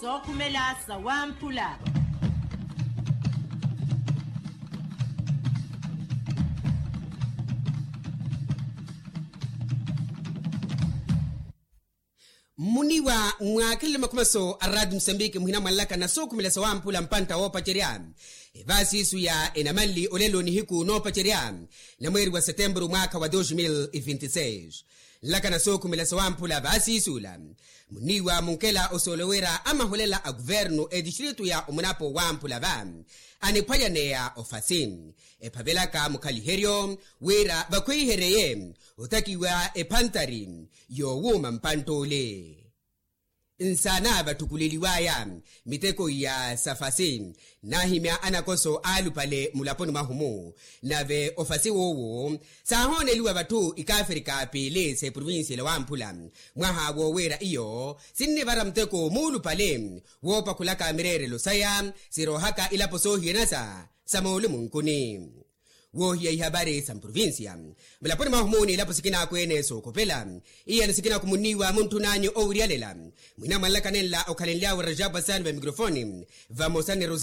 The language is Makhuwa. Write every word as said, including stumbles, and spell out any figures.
Sookhumela sawamphula. Mmuniwa mwakhelele makhumaso a raati musambiki muhina mwanlaka na sookhumela sawamphula mpantta woopacerya. Evaasi isu ya enamanli olelo nihiku noopacerya na mweeri wa setempuru mwaakha wa dos mil e vinti seis. Nlaka na sookhumela sawamphula vaasi isula. Muniiwa munkela osoolo wira amaholela a kuvernu etistritu ya omunapo wamphula va aniphwayaneya ofasi ephavelaka mukhaliheryo wira vakhwihereye othakiwa ephantari yowuuma mpantt'ule. Nsaana vatthukuleliwaya miteko iya safasi naahimya anakoso aalupale mulaponi mwahu-mu. Nave ofasi w'uwu saahooneliwa vatthu ikafrika piili s'eprovincia ela wamphula mwaha woowiira iyo sinnivara muteko muulupale woopakhulaka mireerelo saya siroohaka ilapo soohiyana sa sa moolumunkuni. Woohiya ihavari sa mprovincia mulaponi mwahu-mu n'ilapo sikinaakwene sookhopela iyano sikinaakumuniwa muntthun'anyu owiryalela mwina mwanlaka nenla okhalenly'awe rajabu asani va mikrofoni vamosa ni rosa.